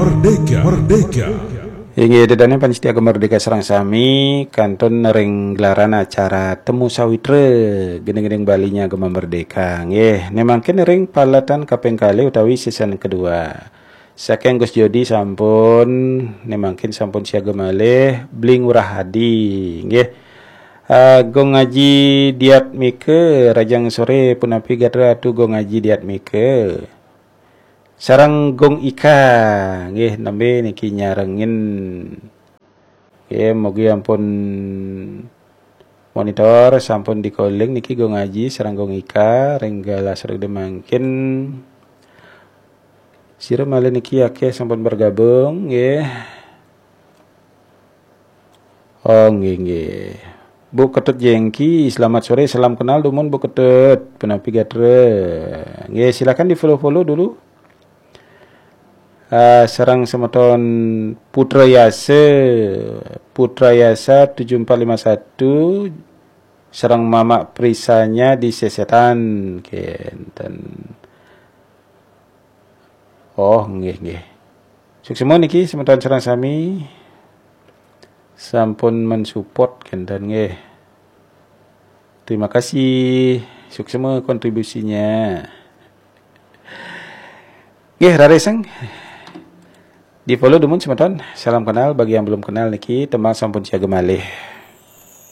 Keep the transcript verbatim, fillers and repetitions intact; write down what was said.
Merdeka, merdeka. Inggih, ida dané pamiarsa Gema Merdeka sareng sami, kantun ring gelaran acara Temu Sawitra, gending-gending Baliné Gema Merdeka. Nggih, né mangkin ring paletan kaping kalih utawi season kedua. Saking Gus Jodi sampun, né mangkin sampun siaga malih, Bli Ngurah Adi. Nggih. Ah, Gung Aji Diatmika, rahajeng soré, punapi gatra Atu Gung Aji Diatmika. Sareng Gung Ika, nggih, nembé niki nyarengin. Nggih, mugi ampun monitor, sampun di-calling niki Gung Aji sareng Gung Ika, ring galah sareng mangkin. Sira malih niki akéh sampun bergabung, nggih. Oh, nggih, nggih. Bu Ketut Jengki, selamat sore, salam kenal dumun Bu Ketut. Punapi gatra. Nggih, silakan di-follow-follow dulu. Ah, sareng semeton Putra Yasa, Putra Yasa tujuh empat lima satu, sareng Mamak Prisanya di Sesetan, kénten. Oh, nggih, nggih. Suksma niki semeton sareng sami. Sampun mensupport kénten nggih. Terima kasih. Suksma kontribusinya. Nggih, rarisang. Di-follow dumun semeton. Salam kenal bagi yang belum kenal niki, tembang sampun siaga malih.